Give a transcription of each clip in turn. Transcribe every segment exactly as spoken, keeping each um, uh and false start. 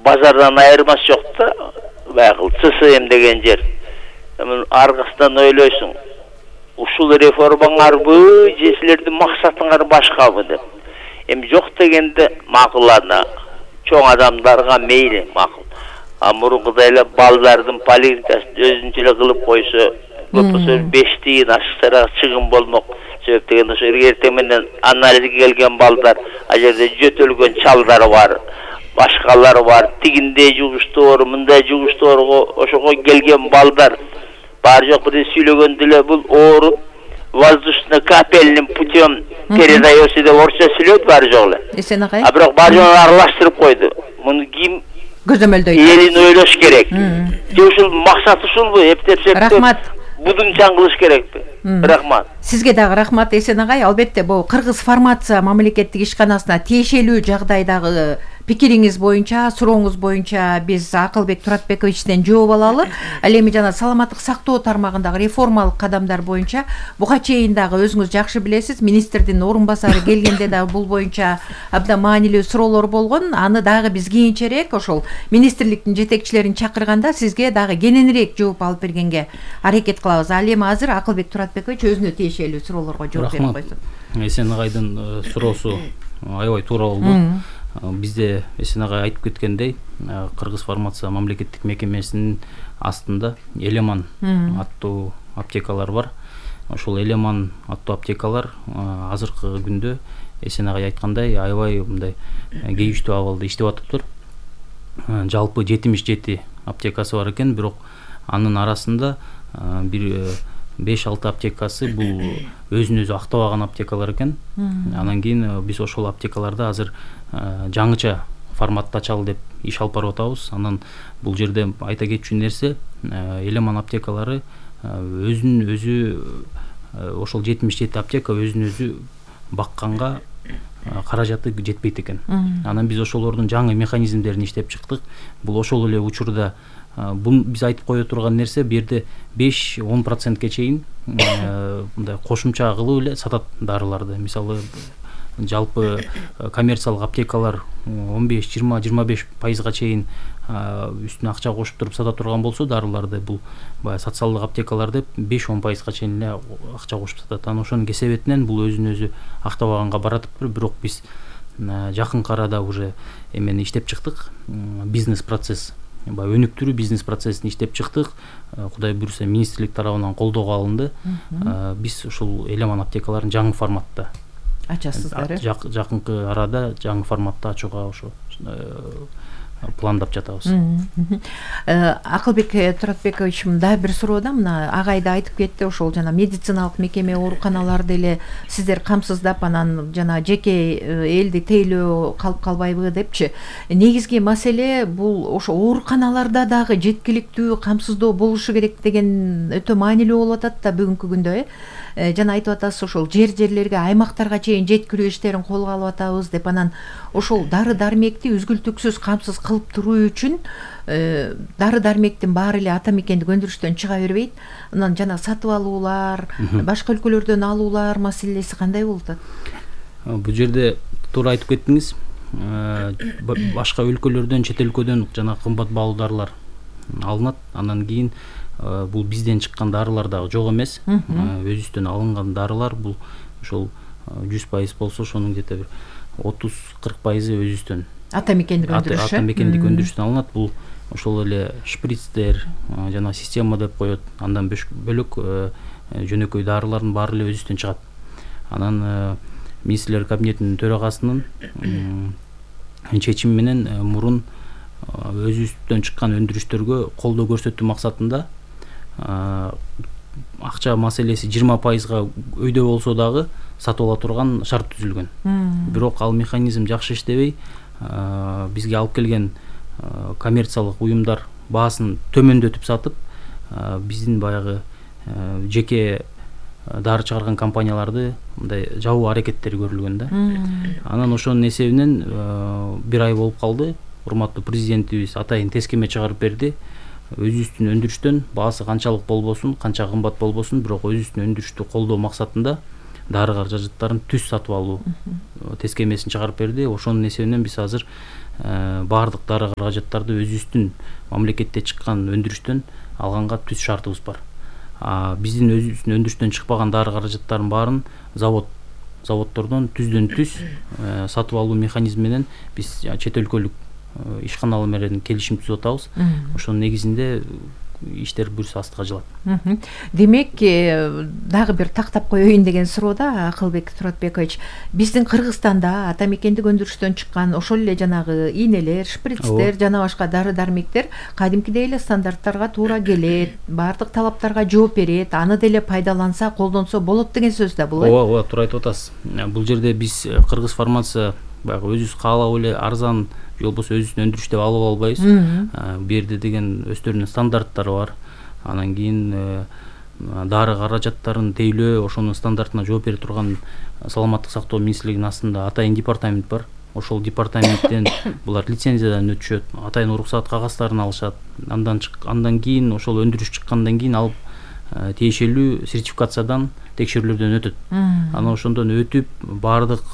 базардан айырмасы жок да, баягы ЦСМ деген жер. Эми аркасынан ойлойсуң, ушул реформаңарбы же силердин максатыңар башкабы деп. Эми жок дегенде макул, ана чоң адамдарга мейли макул. А мурункудай эле балдардын поликлиникасын өзүнчө эле кылып койсо, көп болсо беш тиын ашыктарак чыгым болмок. Себеп деген ошо эртең менен анализге келген балдар, а жерде жөтөлгөн чалдар бар, башкалар бар, тигиндей жугуштуу, мындай жугуштуурго ошого келген балдар бар жок бир сүйлөгөндө эле бул ооруп воздушно-капельным путем передается деп орусча сүйлөйт бар жок эле. Эсен агай. А бирок бар жок аралаштырып койду. Муну ким көзөмөлдөйт? Элин ойлош керек. Же ушул максат ушулбу? Эптеп-эптеп. Рахмат. Будунчан кылыш керекпи? Рахмат. Сизге дагы рахмат Эсен агай. Албетте бул Кыргыз фармация мамлекеттик ишканасына тиешелүү жагдайдагы пикириңиз боюнча, сурооңуз боюнча биз Акылбек Туратбековичтен жооп алалы. Ал эми жана саламаттык сактоо тармагындагы реформалык кадамдар боюнча буга чейин дагы өзүңүз жакшы билесиз, министрдин орун басары келгенде дагы бул боюнча абдан маанилүү суроолор болгон. Аны дагы биз кийинчерээк ошол министрликтин жетекчилерин чакырганда сизге дагы кененирээк жооп алып бергенге аракет кылабыз. Ал эми азыр Акылбек Туратбекович өзүнө тиешелүү суроолорго жооп берип койсун. Эсен агайдын суроосу аябай туура болду. Бизде Эсен агай айтып кеткендей, Кыргыз фармация мамлекеттик мекемесинин астында Элеман аттуу аптекалар бар. Ошол Элеман аттуу аптекалар азыркы күндө Эсен агай айткандай аябай мындай кейиштүү абалда иштеп атыптыр. Жалпы жетимиш жети аптекасы бар экен, бирок анын арасында бир беш алты аптекасы бул өзүн өзү актабаган аптекалар экен. Анан кийин биз ошол аптекаларда азыр жаңыча форматта ачалы деп иш алып барып атабыз. Анан бул жерде айта кетчү нерсе, Элеман аптекалары өзүн өзү ошол жетимиш жети аптека өзүн өзү бакканга каражаты жетпейт экен. Анан биз ошолордун жаңы механизмдерин иштеп чыктык. Бул ошол эле учурда бул биз айтып кое турган нерсе, бу жерде беш он процентке чейин мындай кошумча кылып эле сатат дарыларды. Мисалы жалпы коммерциялык аптекалар он беш жыйырма жыйырма беш пайызга чейин үстүнө акча кошуп туруп сата турган болсо, дарыларды бул баягы социалдык аптекалар деп беш он пайызга чейин эле акча кошуп сатат. Анан ошонун кесебетинен бул өзүн өзү актабаганга баратыптыр. Бирок биз жакынкы арада уже эмени иштеп чыктык. Бизнес процесс, баягы өнүктүрүү бизнес процессин иштеп чыктык. Кудай буйруса министрлик тарабынан колдоого алынды. Биз ушул Элеман аптекаларын жаңы форматта ачасыздар. Жакынкы арада жаңы форматта ачууга ошо пландап жатабыз. Акылбек Туратбекович, мындай бир суроодо мына агай да айтып кетти, ошол жана медициналык мекеме, ооруканаларды эле сиздер камсыздап, анан жана жеке элди тейлөө калып калбайбы депчи. Негизги маселе бул ошо ооруканаларда дагы жеткиликтүү камсыздоо болушу керек деген өтө маанилүү болуп атат да бүгүнкү күндө. Жана айтып атасыз, ошол жер-жерлерге, аймактарга чейин жеткирүү иштерин колго алып атабыз деп. Анан ошол дары-дармекти үзгүлтүксүз камсыз кылып туруу үчүн дары-дармектин баары эле ата мекендик өндүрүштөн чыга бербейт. Анан жана сатып алуулар, башка өлкөлөрдөн алуулар маселеси кандай болуп атат? Бул жерде туура айтып кеттиңиз. Башка өлкөлөрдөн, чет өлкөдөн жана кымбат баалуу дарылар алынат. Анан кийин бул бизден чыккан дарылар дагы жок эмес. Өзүбүздөн алынган дарылар бул ошол жүз пайыз болсо, ошонун где-то бир отуз кырк пайызы өзүбүздөн ата мекендик өндүрүш. Ата мекендик өндүрүштөн алынат. Бул ошол эле шприцтер, жана система деп коет. Андан бөлөк жөнөкөй дарылардын баары эле өзүбүздөн чыгат. Анан министрлер кабинетинин төрагасынын чечими менен мурун өзүбүздөн чыккан өндүрүштөргө колдоо көрсөтүү максатында акча маселеси жыйырма пайызга өйдө болсо дагы сатып ала турган шарт түзүлгөн. Бирок ал механизм жакшы иштебей, бизге алып келген коммерциялык уюмдар баасын төмөндөтүп сатып, биздин баягы жеке дары чыгарган компанияларды мындай жабуу аракеттери көрүлгөн да. Анан ошонун эсебинен бир ай болуп калды. Урматтуу президентибиз атайын тескеме чыгарып берди. Өзүбүздүн өндүрүштөн баасы канчалык болбосун, канча кымбат болбосун, бирок өзүбүздүн өндүрүштү колдоо максатында дары каражаттарын түз сатып алуу тескемесин чыгарып берди. Ошонун эсебинен биз азыр баардык дары каражаттарды өзүбүздүн мамлекетте чыккан өндүрүштөн алганга түз шартыбыз бар. Биздин өзүбүздүн өндүрүштөн чыкпаган дары каражаттарын баарын завод заводдордон түздөн түз сатып алуу механизми менен биз чет өлкөлүк ишканалар менен келишим түзүп атабыз. Ошонун негизинде иштер бүрүс астыга жылат. Демек, дагы бир тактап коеюн деген суроо да, Акылбек Туратбекович. Биздин Кыргызстанда ата мекендик өндүрүштөн чыккан ошол эле жанагы ийнелер, шприцтер жана башка дары дармектер кадимкидей эле стандарттарга туура келет, баардык талаптарга жооп берет, аны деле пайдаланса, колдонсо болот деген сөз да бул. Ооба, ооба, туура айтып атасыз. Бул жерде биз Кыргыз фармация баягы өзүбүз каалап эле арзан же болбосо өзүбүздүн өндүрүш деп алып албайбыз. Бу жерде деген өздөрүнүн стандарттары бар. Анан кийин дары каражаттарын тейлөө, ошонун стандартына жооп бере турган саламаттык сактоо министрлигинин астында атайын департамент бар. Ошол департаменттен булар лицензиядан өтүшөт, атайын уруксат кагаздарын алышат. Андан андан кийин ошол өндүрүш чыккандан кийин алып тиешелүү сертификациядан, текшерүүлөрдөн өтөт. Анан ошондон өтүп баардык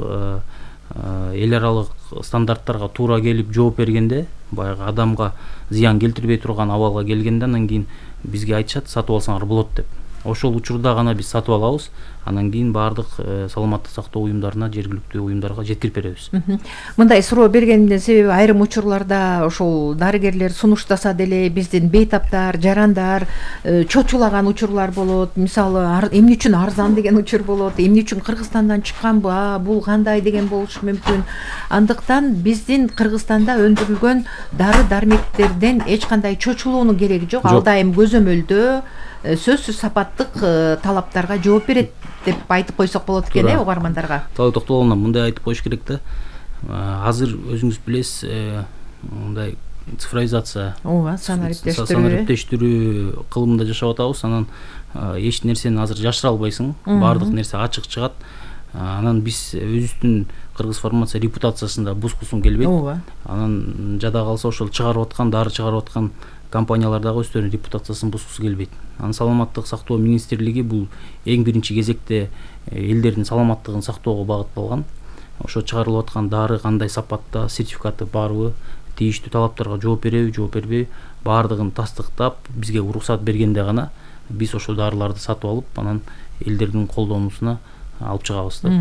эл аралык стандарттарга туура келип жооп бергенде, баягы адамга зыян келтирбей турган абалга келгенде, анан кийин бизге айтышат, сатып алсаңар болот деп. Ошол учурда гана биз сатып алабыз. Анан кийин баардык саламаттык сактоо уюмдарына, жергиликтүү уюмдарга жеткирип беребиз. Мындай суроо бергенимдин себеби, айрым учурларда ошол дарыгерлер сунуштаса деле биздин бейтаптар, жарандар чочулаган учурлар болот. Мисалы, эмне үчүн арзан деген учур болот, эмне үчүн Кыргызстандан чыкканбы, бул кандай деген болушу мүмкүн. Андыктан биздин Кыргызстанда өндүрүлгөн дары дармектерден эч кандай чочулуунун кереги жок. Ал дайым көзөмөлдө сөзсүз сапаттык талаптарга жооп берет деп айтып койсок болот экен, э, угармандарга. Тоо токтолгондон мындай айтып коюш керек да. Азыр өзүңүз билесиз, мындай цифровизация, ооба, санариптештирүү санариптештирүү кылымында жашап атабыз. Анан эч нерсени азыр жашыра албайсың. Баардык нерсе ачык чыгат. Анан биз өзүбүздүн Кыргыз фармация репутациясында бузгусун келбейт. Ооба. Анан жада калса ошол чыгарып аткан, дары чыгарып аткан компаниялар дагы өздөрүнүн репутациясын бузгусу келбейт. Анан саламаттык сактоо министрлиги бул эң биринчи кезекте элдердин саламаттыгын сактоого багытталган. Ошо чыгарылып аткан дары кандай сапатта, сертификаты барбы, тийиштүү талаптарга жооп береби, жооп бербейби, баардыгын тастыктап, бизге уруксат бергенде гана биз ошол дарыларды сатып алып, анан элдердин колдонуусуна алып чыгабыз да.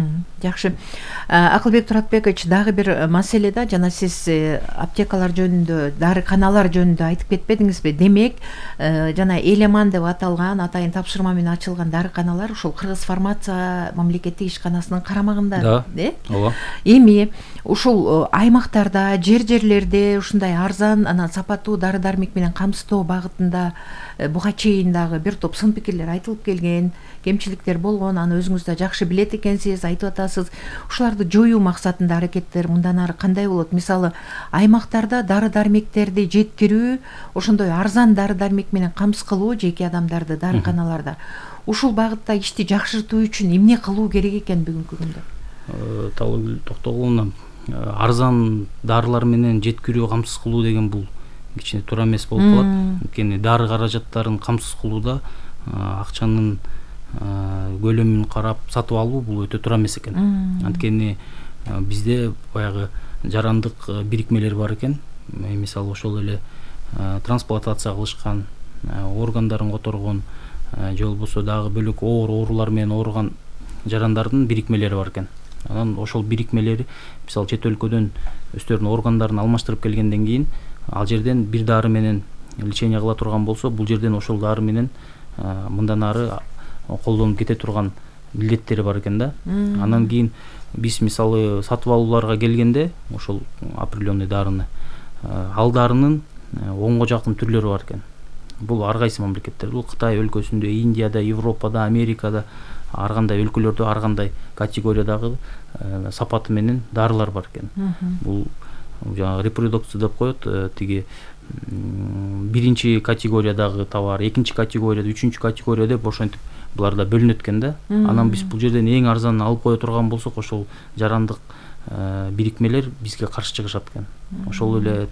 Жакшы. Акылбек Туратбекович, дагы бир маселе да, жана сиз аптекалар жөнүндө, дарыканалар жөнүндө айтып кетпедиңизби? Демек, жана Элеман деп аталган атайын тапшырма менен ачылган дарыканалар ушул Кыргыз фармация мамлекеттик ишканасынын карамагында, э? Ооба. Эми ушул аймактарда, жер-жерлерде ушундай арзан, анан сапаттуу дары-дармек менен камсыздоо багытында буга чейин дагы бир топ сын пикирлер айтылып келген, кемчиликтер болгон, аны өзүңүз да жакшы билет экенсиз, айтып атасыз. Ушуларды жоюу максатында аракеттер мындан ары кандай болот? Мисалы, аймактарда дары-дармектерди жеткирүү, ошондой арзан дары-дармек менен камсыз кылуу жеке адамдарды дарыканаларда. Ушул багытта ишти жакшыртуу үчүн эмне кылуу керек экен бүгүнкү күндө? Талгүл токтогуловна, арзан дарылар менен жеткирүү, камсыз кылуу деген бул кичине туура эмес болуп калат. Анткени дары каражаттарын камсыз кылууда акчанын көлөмүн карап сатып алуу бул өтө туура эмес экен. Анткени бизде баягы жарандык бирикмелер бар экен. Мисалы, ошол эле трансплантация кылышкан, органдарын которгон, же болбосо дагы бөлөк оор оорулар менен ооруган жарандардын бирикмелери бар экен. Анан ошол бирикмелери, мисалы, чет өлкөдөн өздөрүнүн органдарын алмаштырып келгенден кийин, ал жерден бир дары менен лечение кыла турган болсо, бул жерден ошол дары менен мындан ары колдонуп кете турган милдеттери бар экен да. Анан кийин биз мисалы сатып алууларга келгенде, ошол определенный дарыны, ал дарынын онго жакын түрлөрү бар экен. Бул ар кайсы мамлекеттер, бул Кытай өлкөсүндө, Индияда, Европада, Америкада, ар кандай өлкөлөрдө ар кандай категориядагы сапаты менен дарылар бар экен. Бул жаңа репродукция деп коет, тиги биринчи категориядагы товар, экинчи категорияда, үчүнчү категория деп ошентип буларда бөлүнөт экен да. Анан биз бул жерден эң арзанын алып кое турган болсок, ошол жарандык бирикмелер бизге каршы чыгышат экен. Ошол эле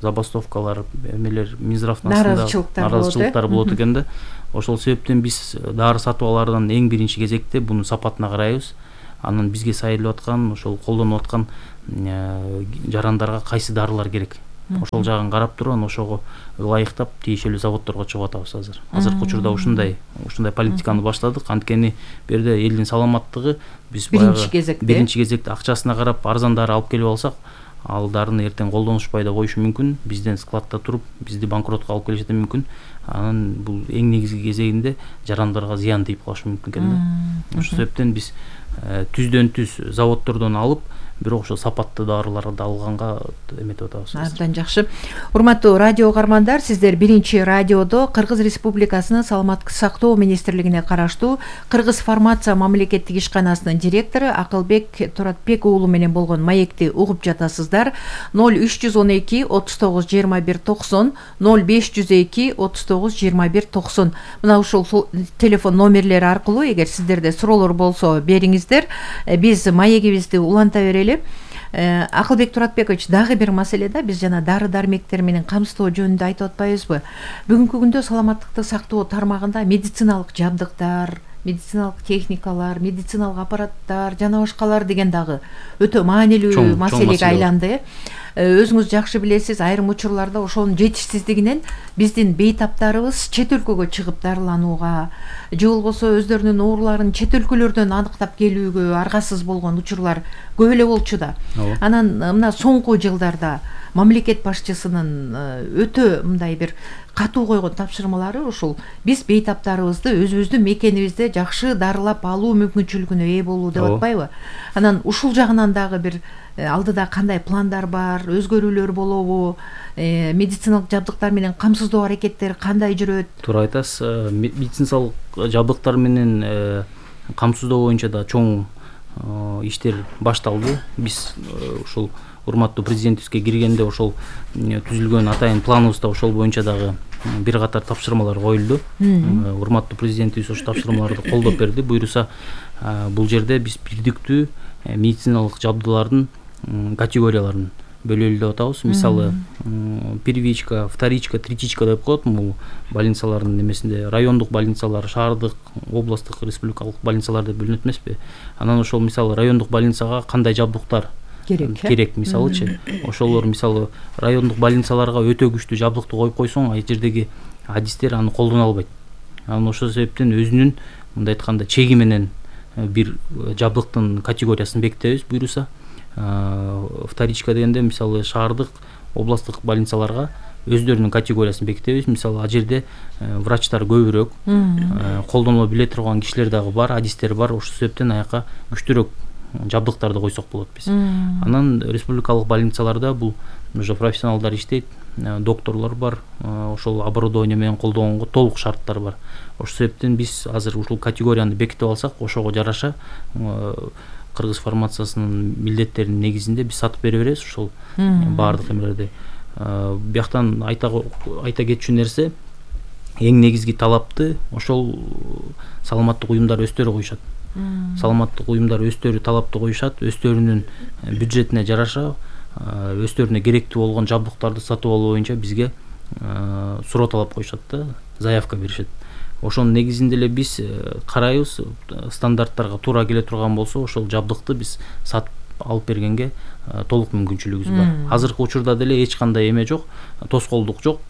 забастовкалар, эмелер Минздравдын астында наразычылыктар болот экен да. Ошол себептен биз дары сатып алаардан эң биринчи кезекте бунун сапатына карайбыз. Анан бизге сайылып аткан, ошол колдонуп аткан жарандарга кайсы дарылар керек, ошол жагын карап туруп анан ошого ылайыктап тиешелүү заводдорго чыгып атабыз азыр. Азыркы учурда ушундай ушундай политиканы баштадык. Анткени бу жерде элдин саламаттыгы биз биринчи кезекте биринчи кезекте акчасына карап арзан дары алып келип алсак, ал дарыны эртең колдонушпай да коюшу мүмкүн, бизден складта туруп бизди банкротко алып келиши да мүмкүн. Анан бул эң негизги кезегинде жарандарга зыян тийип калышы мүмкүн экен да. Ошол себептен биз түздөн түз заводдордон алып, бирок ошо сапаттуу дарыларды алганга эметип атабыз. Абдан жакшы. Урматтуу радио угармандар, сиздер биринчи радиодо Кыргыз Республикасынын Саламаттык сактоо министрлигине караштуу Кыргыз фармация мамлекеттик ишканасынын директору Акылбек Туратбек уулу менен болгон маекти угуп жатасыздар. ноль үч жүз он эки отуз тогуз жыйырма бир токсон, ноль беш жүз эки отуз тогуз жыйырма бир токсон. Мына ушул телефон номерлери аркылуу эгер сиздерде суроолор болсо бериңиздер. Биз маегибизди уланта берели. Акылбек Туратбекович, дагы бир маселеде биз жана дары дармектер менен камсыздоо жөнүндө айтып атпайбызбы? Бүгүнкү күндө саламаттыкты сактоо тармагында медициналык жабдыктар, медициналык техникалар, медициналык аппараттар жана башкалар деген дагы өтө маанилүү маселеге айланды. Өзүңүз жакшы билесиз, айрым учурларда ошонун жетишсиздигинен биздин бейтаптарыбыз чет өлкөгө чыгып дарыланууга же болбосо өздөрүнүн ооруларын чет өлкөлөрдөн аныктап келүүгө аргасыз болгон учурлар көп эле болчу да. Анан мына соңку жылдарда мамлекет башчысынын өтө мындай бир катуу койгон тапшырмалары ушул: биз бейтаптарыбызды өзүбүздүн мекенибизде жакшы дарылап алуу мүмкүнчүлүгүнө ээ болуу деп атпайбы? Анан ушул жагынан дагы бир алдыда кандай пландар бар, өзгөрүүлөр болобу, медициналык жабдыктар менен камсыздоо аракеттери кандай жүрөт? Туура айтасыз. Медициналык жабдыктар менен камсыздоо боюнча да чоң иштер башталды. Биз ушул урматтуу президентибизге киргенде ошол түзүлгөн атайын планыбызда ошол боюнча дагы бир катар тапшырмалар коюлду. Урматтуу президентибиз ошол тапшырмаларды колдоп берди. Буйруса бул жерде биз бирдиктүү медициналык жабдуулардын категорияларын бөлөлү деп атабыз. Мисалы, первичка, вторичка, третичка деп коет. Бул больницалардын немесинде райондук больницалар, шаардык, областтык, республикалык больницалар деп бөлүнөт эмеспи? Анан ошол мисалы райондук больницага кандай жабдыктар керек керек мисалычы, ошолор мисалы райондук больницаларга өтө күчтүү жабдыкты коюп койсоң, ал жердеги адистер аны колдоно албайт. Анан ошол себептен өзүнүн мындай айтканда чеги менен бир жабдыктын категориясын бекитебиз. Буйруса вторичка дегенде мисалы шаардык, областтык больницаларга өздөрүнүн категориясын бекитебиз. Мисалы ал жерде врачтар көбүрөөк, колдоно биле турган кишилер дагы бар, адистер бар. Ошол себептен аяка күчтүүрөөк жабдыктарды койсок болот биз. Анан республикалык больницаларда бул уже профессионалдар иштейт, докторлор бар, ошол оборудование менен колдонгонго толук шарттар бар. Ошол себептен биз азыр ушул категорияны бекитип алсак, ошого жараша Кыргыз фармациясынын милдеттеринин негизинде биз сатып бере беребиз ушул баардык эмелерди. Бияктан айта айта кетчү нерсе, эң негизги талапты ошол саламаттык уюмдар өздөрү коюшат. Саламаттык уюмдар өздөрү талапты коюшат, өздөрүнүн бюджетине жараша өздөрүнө керектүү болгон жабдыктарды сатып алуу боюнча бизге суроо талап коюшат да, заявка беришет. Ошонун негизинде эле биз карайбыз, стандарттарга туура келе турган болсо, ошол жабдыкты биз сатып алып бергенге толук мүмкүнчүлүгүбүз бар. Азыркы учурда деле эч кандай эме жок, тоскоолдук жок.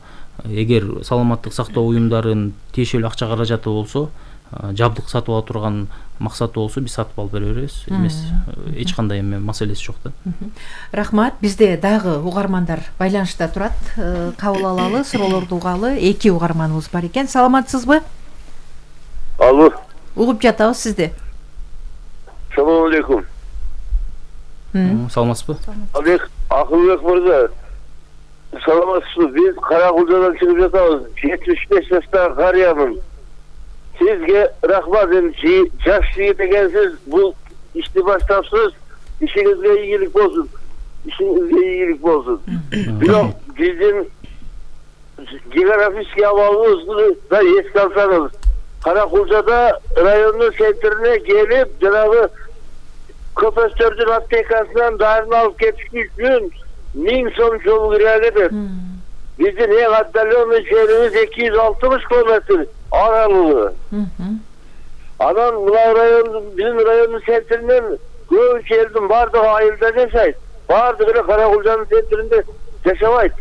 Эгер саламаттык сактоо уюмдарынын тиешелүү акча каражаты болсо, жабдык сатып ала турган максаты болсо, биз сатып алып бере беребиз. Эмес, эч кандай эме маселеси жок да. Рахмат. Бизде дагы угармандар байланышта турат. Кабыл алалы, суроолорду угалы. Эки угарманыбыз бар экен. Саламатсызбы? Алло. Угуп жатабыз сизди. Салам алейкум. Саламатсызбы? Алек, Акылбек мырза. Саламатсызбы? Биз Каракулжадан чыгып жатабыз. жетимиш беш жаштагы карыямын. Сизге рахмат, жаш жигит экенсиз, бул ишти баштапсыз. Ишиңизге ийгилик болсун. Ишиңизге ийгилик болсун. Бирок биздин географический абалыбызды да эске алсаңыз, Каракулжада райондун центрине келип, жанагы көпөстөрдүн аптекасынан дарын алып кетиш үчүн миң сом жол кирет этет. Биздин эң отдаленный жерибиз эки жүз алтымыш километр аралыгы. Анан мына райондун, биздин райондун центринен көбүнчө элдин бардыгы айылда жашайт. баардыгы эле Каракулжанын центринде жашабайт.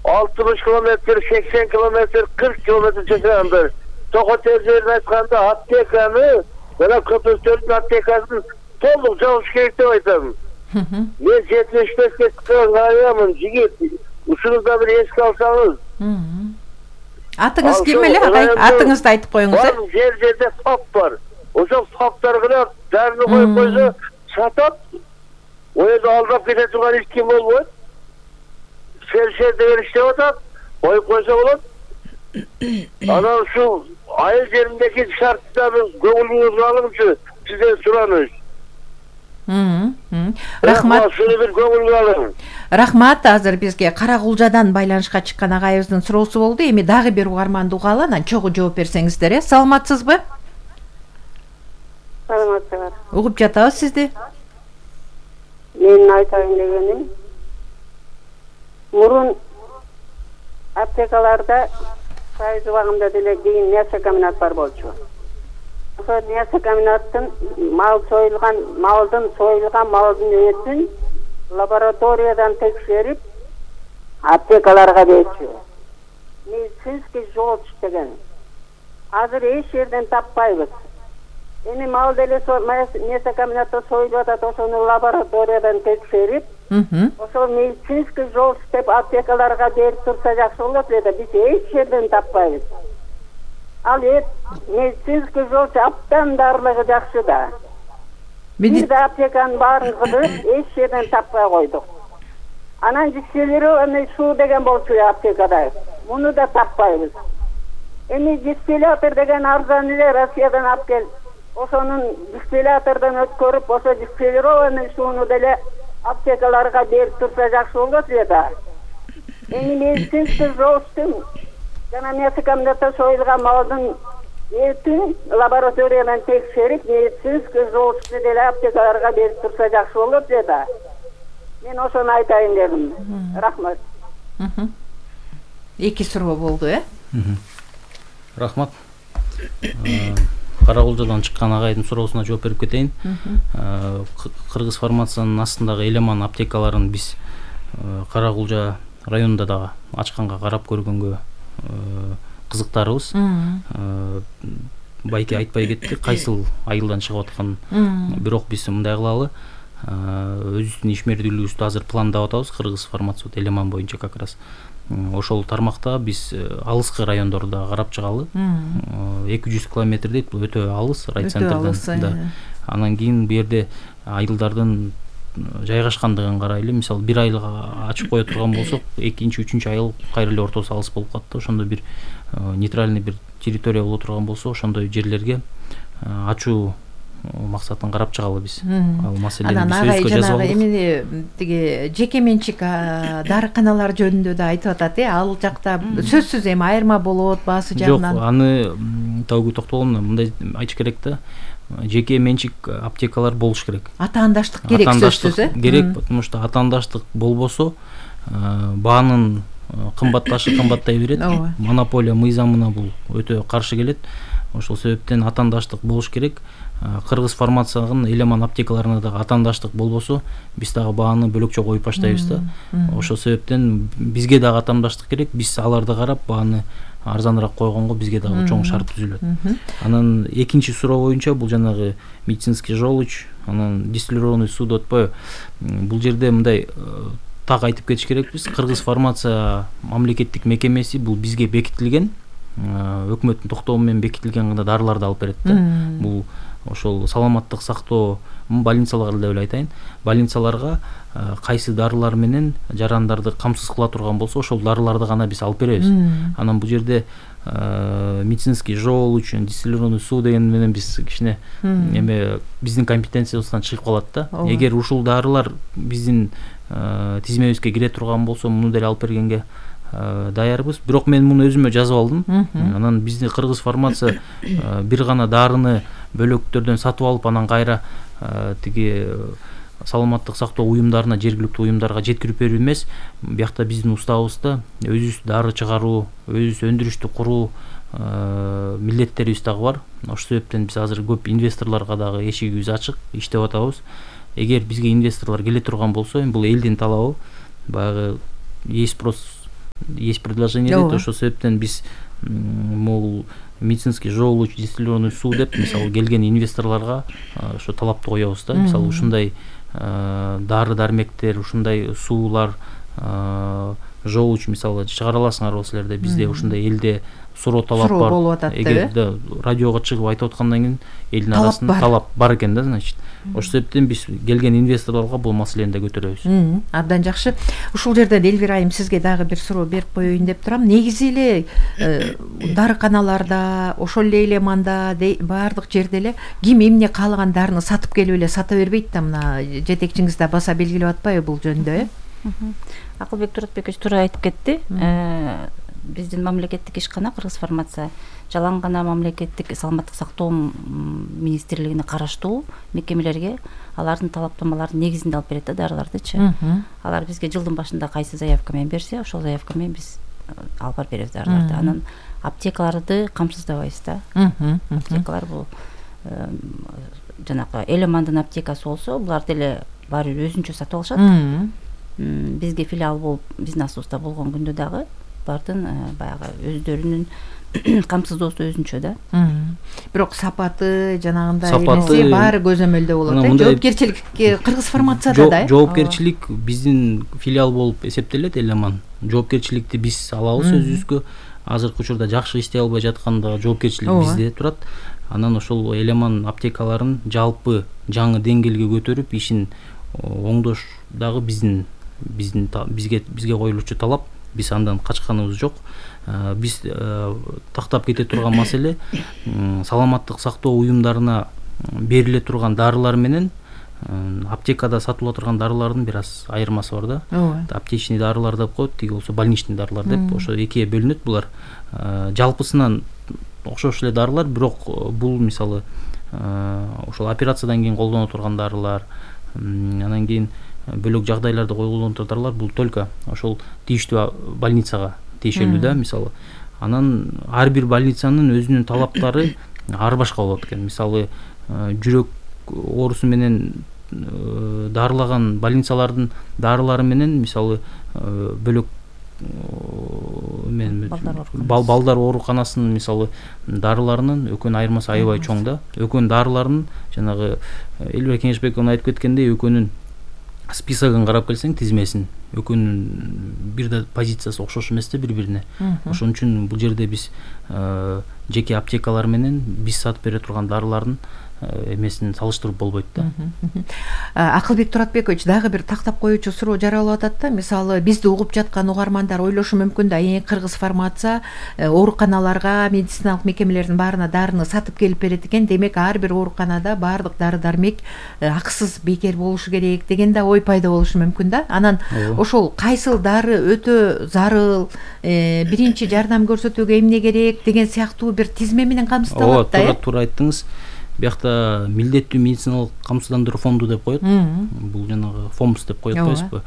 алтымыш километр, сексен километр, кырк километр жашагандар. Токотер жерин айтканда аптеканы, мына Көпөстөрдүн аптекасын толук жабыш керек деп айтам. Мен жетимиш бешке чыккан аямын, жигит. Ушунузда бир эске алсаңыз. Атыңыз ким эле агай? Атыңызды айтып коюңуз. Бар жер жерде фап бар. Ошол фаптар гана дарыны коюп койсо сатат. Ойда алдап кете турган эч ким болбойт. Фельдшер деген иштеп атат, коюп койсо болот. Анан ушул айыл жериндеги шарттарды көңүлүңүзгө алыңызчы, сизден сураныш. Рахмат. Шуну бир көңүлгө алың. Рахмат. Азыр бизге Каракулжадан байланышка чыккан агайыбыздын суроосу болду. Эми дагы бир угарманды угалы, анан чогуу жооп берсеңиздер, э? Саламатсызбы? Саламатсызбы. Угуп жатабыз сизди. Менин айтайын дегеним, мурун аптекаларда сайыз убагында деле кийин мясо комбинат бар болчу. Ошол мясо комбинаттын мал союлган, малдын союлган малдын этин лабораториядан текшерип аптекаларга берчү. Медицинский желчь деген. Азыр эч жерден таппайбыз. Эми мал деле мясо комбинатта союлуп атат, ошону лабораториядан текшерип, ошол медицинский желчь деп аптекаларга берип турса жакшы болот эле, биз эч жерден таппайбыз. Ал эт медицинский желчь аптан дарлыгы жакшы да. Бир да аптеканын баарын кыдырып, эч жерден таппай койдук. Анан дистиллированный суу деген болчу аптекада. Муну да таппайбыз. Эми дистиллятор деген арзан эле Россиядан алып келип, ошонун дистиллятордон өткөрүп, ошо дистиллированный сууну деле аптекаларга берип турса жакшы болот эле да. Эми медицинский желчтун жана мясо комбинатта союлган малдын этин лабораториядан текшерип, медицинский желчту деле аптекаларга берип турса жакшы болот эле да. Мен ошону айтайын дедим. Рахмат. Эки суроо болду, э? Рахмат. Каракулжадан чыккан агайдын суроосуна жооп берип кетейин. Кыргыз фармациянын астындагы Элеман аптекаларын биз Каракулжа районунда дагы ачканга карап көргөнгө кызыктарбыз. Байке айтпай кеттик, кайсыл айылдан чыгып атканын. Бирок биз мындай кылалы, өзүбүздүн ишмердүүлүгүбүздү азыр пландап атабыз. Кыргыз фармация Элеман боюнча как раз ошол тармакта биз алыскы райондорду карап чыгалы. эки жүз километр дейт, бул өтө алыс райцентрден. Анан кийин бу жерде айылдардын жайгашкандыгын карайлы. Мисалы бир айылга ачып кое турган болсок, экинчи, үчүнчү айыл кайра эле ортосу алыс болуп калат да. Ошондо бир нейтральный бир территория боло турган болсо, ошондой жерлерге ачуу максатын карап чыгалы биз. Ал маселени биз өзгө жазып алдык. Эми тиги жеке менчик дарыканалар жөнүндө да айтып атат, э? Ал жакта сөзсүз эми айырма болот баасы жагынан. Жок, аны табуу токтолом, мындай айтыш керек да. Жеке менчик аптекалар болуш керек. Атаандаштык керек сөзсүз, э? Керек, потому что атаандаштык болбосо баанын кымбатташы кымбаттай берет. Монополия мыйзамына бул өтө каршы келет. Ошол себептен атаандаштык болуш керек. Кыргыз фармациянын Элеман аптекаларына дагы атаандаштык болбосо, биз дагы бааны бөлөкчө коюп баштайбыз да. Ошол себептен бизге дагы атаандаштык керек. Биз аларды карап бааны арзаныраак койгонго бизге дагы чоң шарт түзүлөт. Анан экинчи суроо боюнча бул жанагы медицинский желчь, анан дистиллированный суу деп атпайбы? Бул жерде мындай так айтып кетиш керекпиз. Кыргыз фармация мамлекеттик мекемеси бул бизге бекитилген, өкмөттүн токтому менен бекитилген гана дарыларды алып берет да. Бул ошол саламаттык сактоо больницалар деп эле айтайын. Больницаларга кайсы дарылар менен жарандарды камсыз кыла турган болсо, ошол дарыларды гана биз алып беребиз. Анан бул жерде медицинский желчь, дистиллированный суу деген менен биз кичине эме биздин компетенциябыздан чыгып калат да. Эгер ушул дарылар биздин тизмебизге кире турган болсо, муну деле алып бергенге даярбыз. Бирок мен муну өзүмө жазып алдым. Анан биздин Кыргыз фармация бир гана дарыны бөлөктөрдөн сатып алып, анан кайра тиги саламаттык сактоо уюмдарына, жергиликтүү уюмдарга жеткирип берүү эмес. Биякта биздин устабызда өзүбүз дары чыгаруу, өзүбүз өндүрүштү куруу милдеттерибиз дагы бар. Ошол себептен биз азыр көп инвесторлорго дагы эшигибиз ачык, иштеп атабыз. эгер бизге инвесторлор келе турган болсо, эми бул элдин талабы, баягы есть спрос, есть предложение дейт. Ошол себептен биз могул медицинский жоолуч дистиллированный суу деп мисалы келген инвесторлорго ошо талапты коебуз да. Мисалы ушундай дары дармектер, ушундай суулар жоолуч мисалы чыгара аласыңарбы силерде? Бизде ушундай элде суроо талап бар. Болуп атат да. Эгер да радиого чыгып айтып аткандан кийин элдин арасында талап бар экен да, значит. Ошол себептен биз келген инвесторлорго бул маселени да көтөрөбүз. Абдан жакшы. Ушул жерден Элвира айым сизге дагы бир суроо берип коеюн деп турам. Негизи эле дарыканаларда, ошол эле Элеманда, баардык жерде эле ким эмне каалаган дарыны сатып келип эле сата бербейт да. Мына жетекчиңиз да баса белгилеп атпайбы бул жөнүндө, э? Акылбек Туратбекович туура айтып кетти. Биздин мамлекеттик ишкана Кыргыз фармация жалаң гана мамлекеттик саламаттык сактоо министрлигине караштуу мекемелерге алардын талаптамаларынын негизинде алып берет да дарылардычы. Алар бизге жылдын башында кайсы заявка менен берсе, ошол заявка менен биз алып барып беребиз дарыларды. Анан аптекаларды камсыздабайбыз да. Аптекалар бул жанагы Элемандын аптекасы болсо, булар деле баары бир өзүнчө сатып алышат. Бизге филиал болуп, биздин астыбызда болгон күндө дагы бардын баягы өздөрүнүн камсыздоосу өзүнчө да. Бирок сапаты жанагындай эмеси баары көзөмөлдө болот. Жоопкерчилик Кыргыз фармацияда да. Жоопкерчилик биздин филиал болуп эсептелет Элеман. Жоопкерчиликти биз алабыз өзүбүзгө. Азыркы учурда жакшы иштей албай жатканда жоопкерчилик бизде турат. Анан ошол Элеман аптекаларын жалпы жаңы деңгээлге көтөрүп, ишин оңдош дагы биздин биздин бизге бизге коюлуучу талап. Биз андан качканыбыз жок. Биз тактап кете турган маселе саламаттык сактоо уюмдарына бериле турган дарылар менен аптекада сатылып турган дарылардын бир аз айырмасы бар да. Аптечный дарылар деп коет, тиги болсо больничный дарылар деп. Ошо экиге бөлүнөт булар. Жалпысынан окшош эле дарылар, бирок бул мисалы ошол операциядан кийин колдоно турган дарылар, анан кийин бөлөк жагдайларда коюлган дарылар бул только ошол тийиштүү больницага тиешелүү да, мисалы. Анан ар бир больницанын өзүнүн талаптары ар башка болот экен. Мисалы жүрөк оорусу менен дарылаган больницалардын дарылары менен мисалы бөлөк мен балдар ооруканасынын мисалы дарыларынын экөөнүн айырмасы аябай чоң да. Экөөнүн дарыларынын жанагы Элвира Кеңешбековна айтып кеткендей экөөнүн списогун карап келсең, тизмесин, экөөнүн бир да позициясы окшош эмес да бири-бирине. Ошон үчүн бул жерде биз жеке аптекалар менен биз сатып бере турган дарылардын эмесин салыштырып болбойт да. Акылбек Туратбекович, дагы бир тактап коюучу суроо жаралып атат да. Мисалы бизди угуп жаткан угармандар ойлошу мүмкүн да, эң Кыргыз фармация ооруканаларга, медициналык мекемелердин баарына дарыны сатып келип берет экен. Демек ар бир ооруканада баардык дары-дармек акысыз бекер болушу керек деген да ой пайда болушу мүмкүн да. Анан ошол кайсыл дары өтө зарыл, биринчи жардам көрсөтүүгө эмне керек деген сыяктуу бир тизме менен камсыздалат да. Ооба, туура айттыңыз. Биякта милдеттүү медициналык камсыздандыруу фонду деп коет. Бул жанагы фомс деп коет атпайсызбы?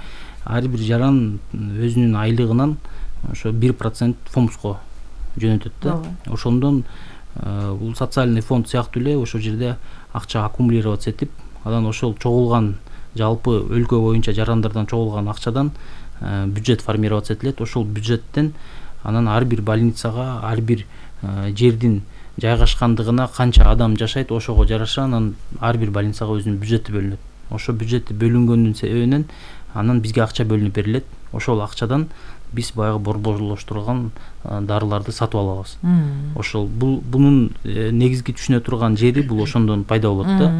Ар бир жаран өзүнүн айлыгынан ошо бир процент фомско жөнөтөт да. Ошондон бул социальный фонд сыяктуу эле ошол жерде акча аккумулироваться этип, анан ошол чогулган жалпы өлкө боюнча жарандардан чогулган акчадан бюджет формироваться этилет. Ошол бюджеттен анан ар бир больницага, ар бир жердин жайгашкандыгына канча адам жашайт, ошого жараша анан ар бир больницага өзүнүн бюджети бөлүнөт. Ошо бюджети бөлүнгөндүн себебинен анан бизге акча бөлүнүп берилет. Ошол акчадан биз баягы борборлоштурулган дарыларды сатып алабыз. Ошол бул бунун негизги түшүнө турган жери бул ошондон пайда болот да.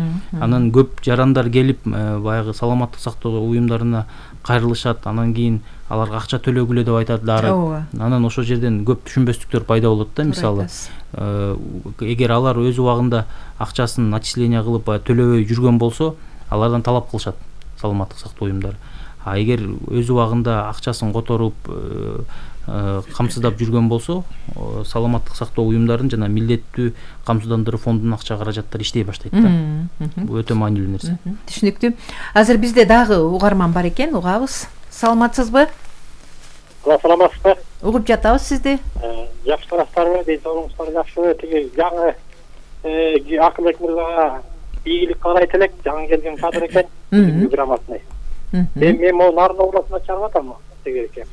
Анан көп жарандар келип баягы саламаттык сактоо уюмдарына кайрылышат, анан кийин аларга акча төлөгүлө деп айтат дары. Анан ошол жерден көп түшүнбөстүктөр пайда болот да. Мисалы эгер алар өз убагында акчасын начисление кылып төлөбөй жүргөн болсо, алардан талап кылышат саламаттык сактоо уюмдары. А эгер өз убагында акчасын которуп камсыздап жүргөн болсо, саламаттык сактоо уюмдарын жана милдеттүү камсыздандыруу фондунун акча каражаттары иштей баштайт да. Бул өтө маанилүү нерсе. Түшүнүктүү. Азыр бизде дагы угарман бар экен, угабыз. Саламатсызбы? Саламатсызбы? Угуп жатабыз сизди. Жакшы тараптарбы, ден соолугуңуздар жакшыбы? Тиги жаңы Акылбек мырзага ийгилик карайт элек, жаңы келген кадр экен, грамотный. Мен мен могу Нарын областына чыгып атам тегереке.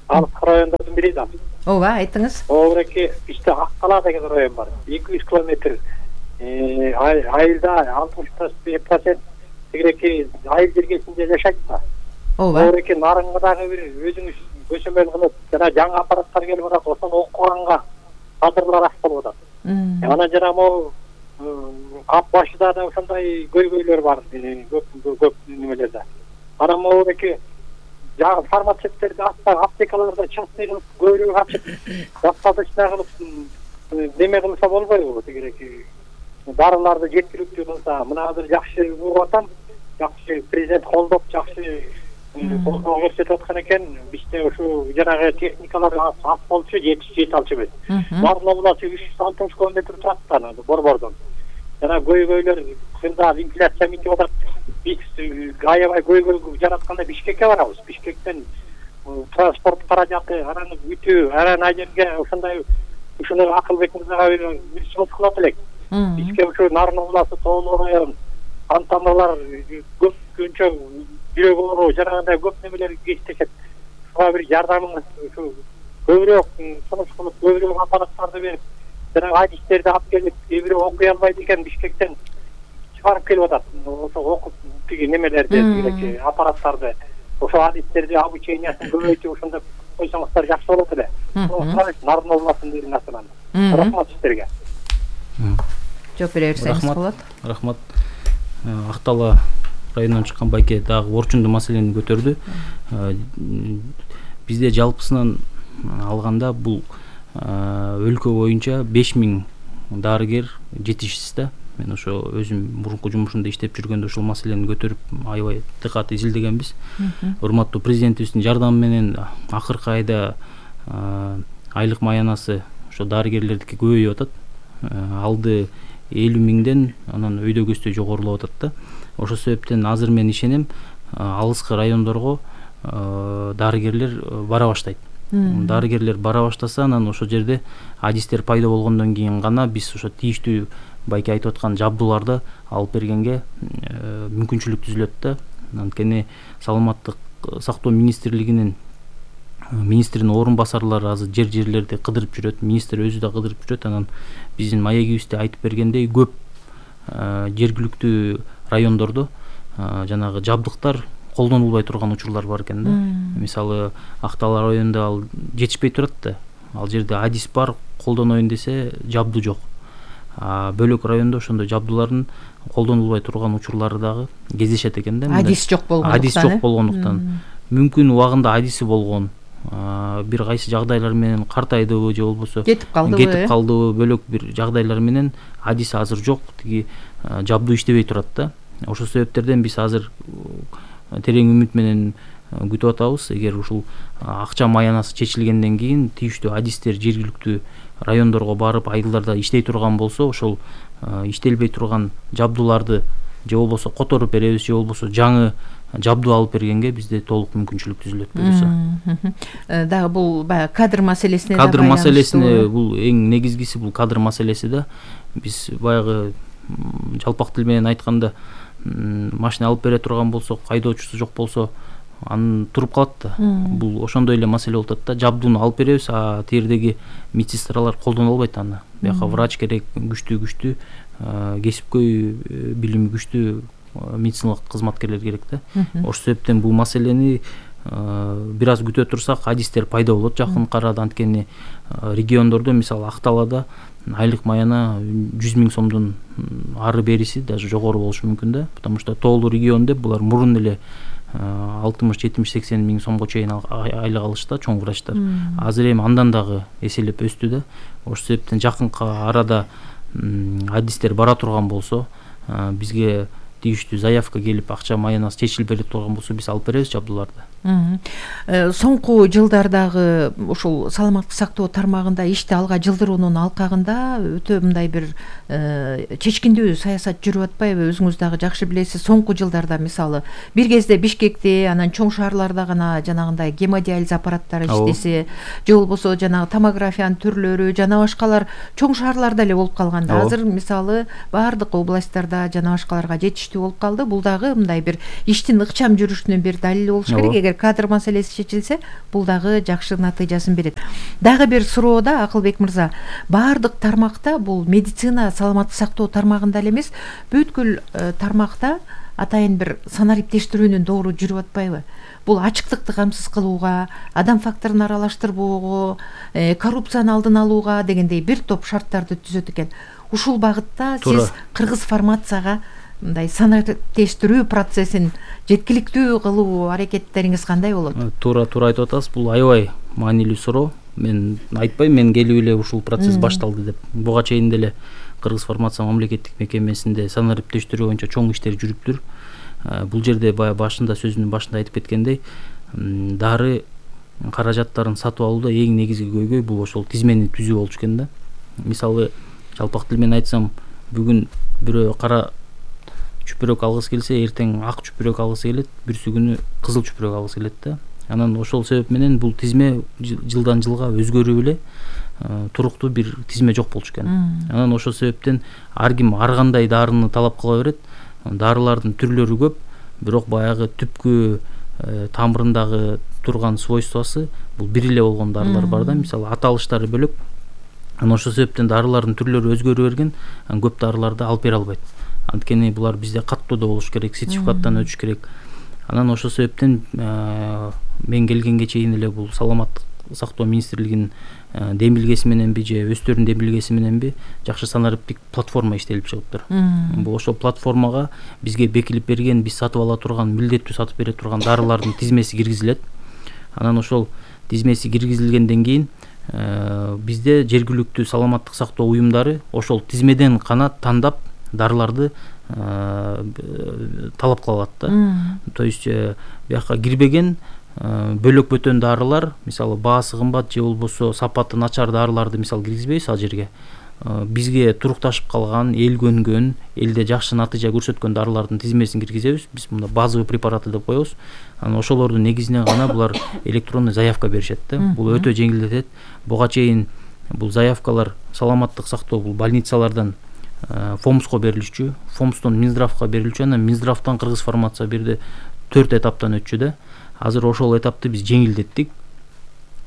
Алыс райондордун бири да. Ооба, айтыңыз. Ооба, иште Ак-Кала деген район бар. эки жүз километр. Э, айылда алтымыш процент тегереке айыл жергесинде жашайт да. Ооба. Ооба, Нарынга дагы бир өзүңүз көчөмөл кылып, жана жаңы аппараттар келип атат, ошону окуганга кадрлар аз болуп атат. Анан жана могу ап башыда да ошондой көйгөйлөр бар, көп көп немелерде. Анан могу жаңы фармацевттерди аптекаларда частный кылып көбүрөөк ачып, достаточно кылып неме кылса болбойбу тегереки. Дарыларды жеткиликтүү кылса, мына азыр жакшы угуп атам, жакшы президент колдоп, жакшы колдоо көрсөтүп аткан экен. Бизде ушу жанагы техникалар аз болчу, жетиш жете алчубуз. Нарын областы үч жүз алтымыш километр турат да, Борбордон. Жана көйгөйлөр кында инфляция митип атат. Биз аябай көйгөй жаратканда Бишкекке барабыз. Бишкектен транспорт каражаты, анан бүтүү, анан ай жерге ошондой ушуну Акылбек мырзага бир сунуш кылат элек. Бизге ушу Нарын областы тоолуу район, антаналар көп көнчө жүрөк оору, жанагындай көп немелер кездешет. Ушуга бир жардамыңыз ушу көбүрөөк сунуш кылып, көбүрөөк аппараттарды берип, жана адистерди алып келип, кээ бирөө окуй албайт экен, Бишкектен чыгарып келип атат. Ошо окуп тиги немелерди, тиги аппараттарды, ошо адистерди обучениясын көбөйтүп ошондо койсоңуздар жакшы болот эле. Нарын областынын националды. Рахмат сиздерге. Жооп бере берсеңиз болот. Рахмат. Ак-Тала районунан чыккан байке дагы орчундуу маселени көтөрдү. Бизде жалпысынан алганда бул өлкө боюнча беш миң дарыгер жетишсиз да. Мен ошо өзүм мурунку жумушумда иштеп жүргөндө ушул маселени көтөрүп аябай дыкат изилдегенбиз. Урматтуу президентибиздин жардамы менен акыркы айда айлык маянасы ошо дарыгерлердики көбөйүп атат. Алды элүү миңден анан өйдө көздөй жогорулап атат да. Ошол себептен азыр мен ишенем, алыскы райондорго дарыгерлер бара баштайт. Дарыгерлер бара баштаса, анан ошол жерде адистер пайда болгондон кийин гана биз ошо тийиштүү байке айтып аткан жабдууларды алып бергенге мүмкүнчүлүк түзүлөт да. Анткени саламаттык сактоо министрлигинин министрдин орун басарлары азыр жер-жерлерди кыдырып жүрөт, министр өзү да кыдырып жүрөт. Анан биздин маегибизде айтып бергендей, көп жергиликтүү райондордо жанагы жабдыктар колдонулбай турган учурлар бар экен да. Мисалы Ак-Тала районунда ал жетишпей турат да. Ал жерде адис бар, колдоноюн десе жабдуу жок. Бөлөк райондо ошондой жабдуулардын колдонулбай турган учурлары дагы кездешет экен да. Адис жок болгондуктан. Адис жок болгондуктан. Мүмкүн убагында адиси болгон. Бир кайсы жагдайлар менен картайдыбы же болбосо кетип калдыбы, кетип калдыбы, бөлөк бир жагдайлар менен адиси азыр жок, тиги жабдуу иштебей турат да. Ошол себептерден биз азыр терең үмүт менен күтүп атабыз. Эгер ушул акча маянасы чечилгенден кийин тийиштүү адистер жергиликтүү райондорго барып айылдарда иштей турган болсо, ошол иштелбей турган жабдууларды же болбосо которуп беребиз, же болбосо жаңы жабдуу алып бергенге бизде толук мүмкүнчүлүк түзүлөт буюрса. Дагы бул баягы кадр маселесине кадр маселесине бул эң негизгиси бул кадр маселеси да. Биз баягы жалпак тил менен айтканда машина алып бере турган болсок, айдоочусу жок болсо, анын туруп калат да. Бул ошондой эле маселе болуп атат да. Жабдууну алып беребиз, а тиердеги медсестралар колдоно албайт аны. Бияка врач керек, күчтүү күчтүү кесипкөй билими күчтүү медициналык кызматкерлер керек да. Ошол себептен бул маселени бир аз күтө турсак, адистер пайда болот жакынкы арада. Анткени региондордо, мисалы Ак-Талада айлык маяна жүз миң сомдон ары бериси даже жогору болушу мүмкүн да. Потому что тоолуу регион деп булар мурун эле алтымыш жетимиш сексен миң сомго чейин айлык алышты чоң врачтар. Азыр эми андан дагы эселеп өстү да. Ошол себептен жакынкы арада адистер бара турган болсо, бизге тийиштүү заявка келип, акча маянасы чечилип бере турган болсо, биз алып беребиз жабдууларды. Соңку жылдардагы ушул саламаттык сактоо тармагында ишти алга жылдыруунун алкагында өтө мындай бир чечкиндүү саясат жүрүп атпайбы? Өзүңүз дагы жакшы билесиз, соңку жылдарда мисалы бир кезде Бишкекте, анан чоң шаарларда гана жанагындай гемодиализ аппараттары иштесе, же болбосо жанагы томографиянын түрлөрү жана башкалар чоң шаарларда эле болуп калганда, азыр мисалы баардык областтарда жана башкаларга жетиштүү болуп калды. Бул дагы мындай бир иштин ыкчам жүрүшүнүн бир далили болуш керек. Эгер кадр маселеси чечилсе, бул дагы жакшы натыйжасын берет. Дагы бир суроода Акылбек мырза, баардык тармакта бул медицина саламаттык сактоо тармагында эле эмес, бүткүл тармакта атайын бир санариптештирүүнүн доору жүрүп атпайбы? Бул ачыктыкты камсыз кылууга, адам факторун аралаштырбоого, коррупцияны алдын алууга дегендей бир топ шарттарды түзөт экен. Ушул багытта сиз кыргыз фармацияга мындай санариптештирүү процессин жеткиликтүү кылуу аракеттериңиз кандай болот? Туура туура айтып атасыз. Бул аябай маанилүү суроо. Мен айтпайм, мен келип эле ушул процесс башталды деп. Буга чейин деле Кыргыз фармация мамлекеттик мекемесинде санариптештирүү боюнча чоң иштер жүрүптүр. Бул жерде баягы башында сөзүнүн башында айтып кеткендей, дары каражаттарын сатып алууда эң негизги көйгөй бул ошол тизмени түзүү болчу экен да. Мисалы жалпак тил менен айтсам, бүгүн бирөө кара чүпүрөк алгысы келсе, эртең ак чүпүрөк алгысы келет, бүрсү күнү кызыл чүпүрөк алгысы келет да. Анан ошол себеп менен бул тизме жылдан жылга өзгөрүп эле туруктуу бир тизме жок болчу экен. Анан ошол себептен ар ким ар кандай дарыны талап кыла берет. Дарылардын түрлөрү көп, бирок баягы түпкү тамырындагы турган свойствосы бул бир эле болгон дарылар бар да. Мисалы аталыштары бөлөк. Анан ошол себептен дарылардын түрлөрү өзгөрө берген, көп дарыларды алып бере албайт. Анткени булар бизде каттоодо болуш керек, сертификаттан өтүш керек. Анан ошол себептен мен келгенге чейин эле бул саламаттык сактоо министрлигинин демилгеси мененби же өздөрүнүн демилгеси мененби жакшы санариптик платформа иштелип чыгыптыр. Бул ошол платформага бизге бекилип берген, биз сатып ала турган, милдеттүү сатып бере турган дарылардын тизмеси киргизилет. Анан ошол тизмеси киргизилгенден кийин бизде жергиликтүү саламаттык сактоо уюмдары ошол тизмеден гана тандап дарыларды талап кыла алат да. То есть бияка кирбеген бөлөк бөтөн дарылар, мисалы баасы кымбат же болбосо сапаты начар дарыларды мисалы киргизбейбиз ал жерге. Бизге турукташып калган, эл көнгөн, элде жакшы натыйжа көрсөткөн дарылардын тизмесин киргизебиз. Биз мында базовый препараты деп коебуз. Анан ошолордун негизинен гана булар электронный заявка беришет да. Бул өтө жеңилдетет. Буга чейин бул заявкалар саламаттык сактоо бул больницалардан Фомско берилчү, Фомстон Минздравга берилчү, анан Минздравтан Кыргыз фармация бирде төрт этаптан өтчү да. Азыр ошол этапты биз жеңилдеттик.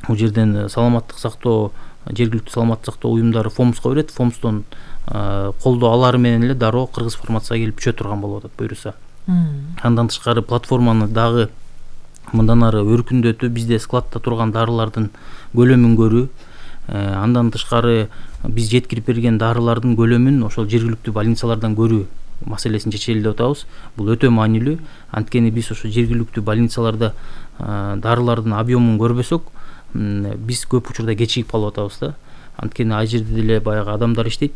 Бул жерден саламаттык сактоо, жергиликтүү саламаттык сактоо уюмдары Фомско берет, Фомстон колдоо алары менен эле дароо Кыргыз фармацияга келип түшө турган болуп атат буюрса. Андан тышкары платформаны дагы мындан ары өркүндөтүп, бизде складта турган дарылардын көлөмүн көрүү, андан тышкары биз жеткирип берген дарылардын көлөмүн ошол жергиликтүү больницалардан көрүү маселесин чечели деп атабыз. Бул өтө маанилүү. Анткени биз ошо жергиликтүү больницаларда дарылардын объемун көрбөсөк, биз көп учурда кечигип калып атабыз да. Анткени ал жерде деле баягы адамдар иштейт.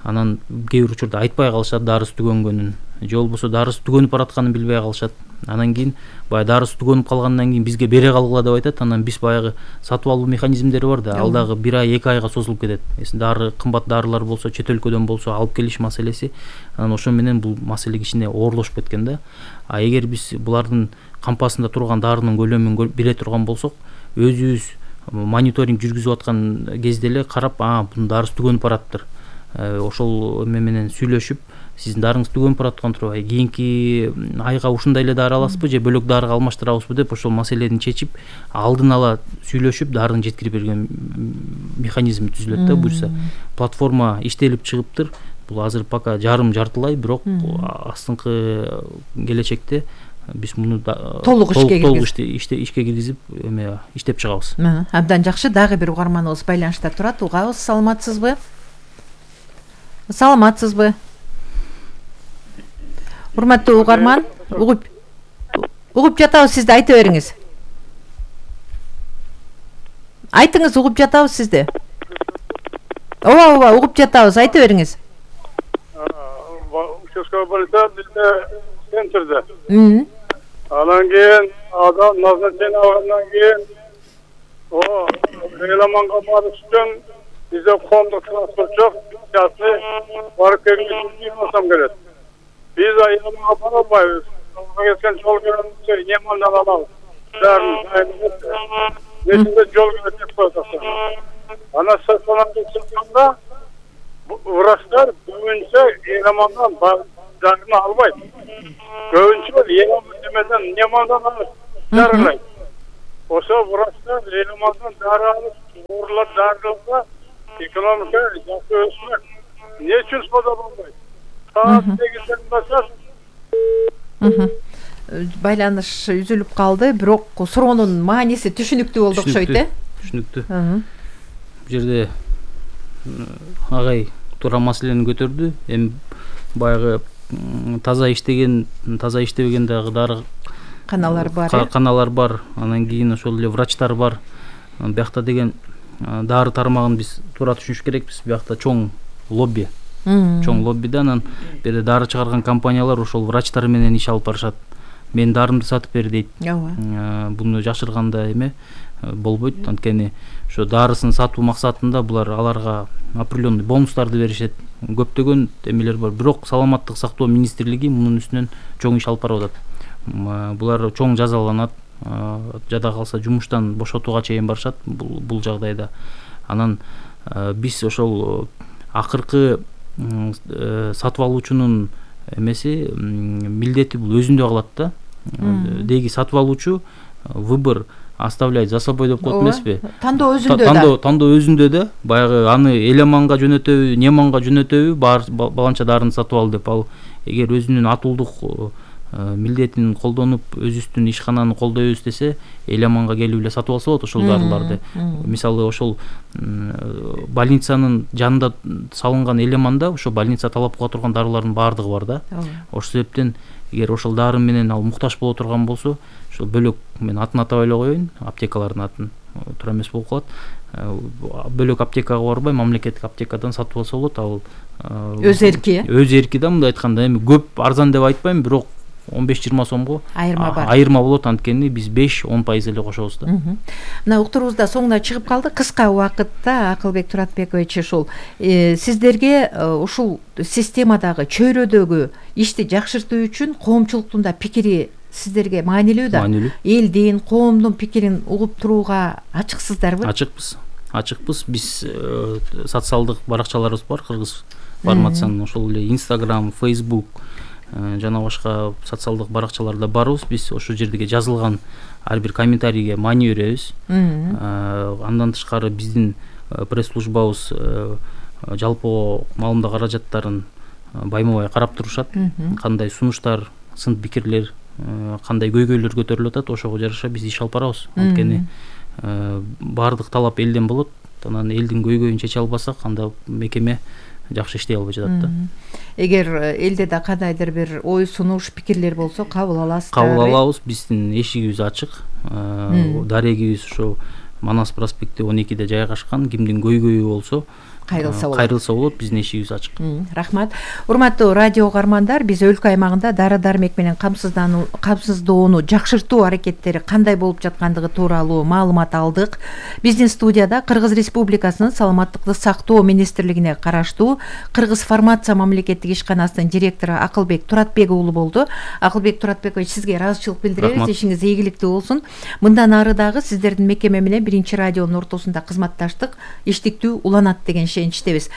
Анан кээ бир учурда айтпай калышат дарысы түгөнгөнүн, же болбосо дарысы түгөнүп баратканын билбей калышат. Анан кийин баягы дарысы түгөнүп калгандан кийин бизге бере калгыла деп айтат. Анан биз баягы сатып алуу механизмдери бар да, ал дагы бир ай, эки айга созулуп кетет. Эсин дары кымбат дарылар болсо, чет өлкөдөн болсо алып келиш маселеси. Анан ошо менен бул маселе кичине оорлошуп кеткен да. А эгер биз булардын кампасында турган дарынын көлөмүн биле турган болсок, өзүбүз мониторинг жүргүзүп аткан кезде эле карап, а бунун дарысы түгөнүп бараттыр. Ошол эме менен сүйлөшүп, сиздин дарыңыз түгөнүп бараткан турбайбы, кийинки айга ушундай эле дары аласызбы же бөлөк дарыга алмаштырабызбы деп ошол маселени чечип, алдын ала сүйлөшүп, дарыны жеткирип берген механизм түзүлөт да буюрса. Платформа иштелип чыгыптыр. Бул азыр пока жарым жартылай, бирок астыңкы келечекте биз муну толук ишке киргизип, эме иштеп чыгабыз. Абдан жакшы. Дагы бир угарманыбыз байланышта турат. Угабыз, саламатсызбы? Саламатсызбы? Урматтуу угарман, угуп угуп жатабыз сизди, айта бериңиз. Айтыңыз, угуп жатабыз сизди. Ооба, ооба, угуп жатабыз, айта бериңиз. Участковый больница бизде центрде. Анан кийин адам назначение алгандан кийин о Эламанга барыш үчүн бизде коомдук транспорт жок, частный барып келгенде болсом керек. Биз Эламанга бара албайбыз. Кеткен жол көрүнүшү Немандан алабыз. Бәрін дайындап, несінде жол керек деп коюп. Ана стационарда чыкканда врачтар көбүнчө Эламандан дарыны албайт. Көбүнчө Эламан демеден Немандан алып дарылайт. Ошо врачтар Эламандан дары алып, оорлар дарыласа, экономика жакшы өсмөк. Эмне үчүн сода болбойт? Саат сегизден баштап байланыш үзүлүп калды, бирок суроонун мааниси түшүнүктүү болду окшойт, э? Түшүнүктүү. Бул жерде агай туура маселени көтөрдү. Эми баягы таза иштеген, таза иштебеген дагы дары каналар бар, э? Каналар бар. Анан кийин ошол эле врачтар бар. Биякта деген дары тармагын биз туура түшүнүш керекпиз. Биякта чоң лобби. Чоң лоббиде анан бир дары чыгарган компаниялар ошол врачтар менен иш алып барышат. Мен дарымды сатып бер дейт. Буну жашырганда эме болбойт. Анткени ошо дарысын сатуу максатында булар аларга определенный бонустарды беришет. Көптөгөн эмелер бар. Бирок саламаттык сактоо министрлиги мунун үстүнөн чоң иш алып барып атат. Булар чоң жазаланат. Жада калса жумуштан бошотууга чейин барышат бул жагдайда. Анан биз ошол акыркы сатып алуучунун эмеси милдети бул өзүндө калат да. Деги сатып алуучу выбор оставляет за собой деп коет эмеспи? Тандоо өзүндө да. Тандоо өзүндө да. Баягы аны Эламанга жөнөтөбү, Неманга жөнөтөбү, баланча дарыны сатып ал деп. Ал эгер өзүнүн атуулдук милдетин колдонуп, өзүбүздүн ишкананы колдойбуз десе, Эламанга келип эле сатып алса болот ошол дарыларды. Мисалы ошол больницанын жанында салынган Эламанда ошо больница талап кыла турган дарылардын баардыгы бар да. Ошол себептен эгер ошол дары менен ал муктаж боло турган болсо, ошол бөлөк мен атын атабай эле коеюн, аптекалардын атын туура эмес болуп калат. Бөлөк аптекага барбай, мамлекеттик аптекадан сатып алса болот. Ал өз эрки. Өз эрки да, мындай айтканда, эми көп арзан деп айтпайм, бирок он беш жыйырма сомго айырма бар. Айырма болот, анткени биз беш он пайыз эле кошобуз да. Мына уктуруубузда соңуна чыгып калды. Кыска убакытта Акылбек Туратбекович ушул сиздерге ушул системадагы чөйрөдөгү ишти жакшыртуу үчүн коомчулуктун да пикири сиздерге маанилүү да. Элдин, коомдун пикирин угуп турууга ачыксыздарбы? Ачыкпыз. Ачыкпыз. Биз социалдык баракчаларыбыз бар, Кыргыз фармациянын ошол эле Instagram, Facebook жана башка социалдык баракчаларда барбыз. Биз ошол жердеги жазылган ар бир комментарийге маани беребиз. Андан тышкары биздин пресс-службабыз жалпы маалымдоо каражаттарын байма-бай карап турушат. Кандай сунуштар, сын пикирлер, кандай көйгөйлөр көтөрүлүп атат, ошого жараша биз иш алып барабыз. Анткени баардык талап элден болот. Анан элдин көйгөйүн чече албасак, анда мекеме жакшы иштей албай жатат да. Эгер элде да кандайдыр бир ой сунуш, пикирлер болсо кабыл аласыздар. Кабыл алабыз. Биздин эшигибиз ачык. Дарегибиз ошо Манас проспекти он экиде жайгашкан. Кимдин көйгөйү болсо кайрылса болот. Кайрылса болот, биздин эшигибиз ачык. Рахмат. Урматтуу радио угармандар, биз өлкө аймагында дары-дармек менен камсыздануу, камсыздоону жакшыртуу аракеттери кандай болуп жаткандыгы тууралуу маалымат алдык. Биздин студияда Кыргыз Республикасынын саламаттыкты сактоо министрлигине караштуу Кыргыз фармация мамлекеттик ишканасынын директору Акылбек Туратбек уулу болду. Акылбек Туратбекович, сизге ыраазычылык билдиребиз. Ишиңиз ийгиликтүү болсун. Мындан ары дагы сиздердин мекеме менен биринчи радионун ортосунда кызматташтык иштиктүү уланат деген ишеничтебиз.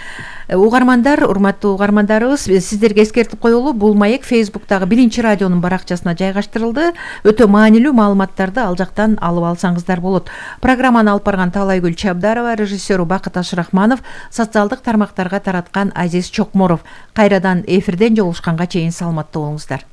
Угармандар, урматтуу угармандарыбыз, сиздерге эскертип коелу, бул маек Facebook'тагы биринчи радионун баракчасына жайгаштырылды. Өтө маанилүү маалыматтарды ал жактан алып алсаңыздар болот. Программаны алып барган Таалайгүл Чабдарова, режиссеру Бакыт Ашрахманов, социалдык тармактарга тараткан Азиз Чокморов. Кайрадан эфирден жолугушканга чейин саламатта болуңуздар.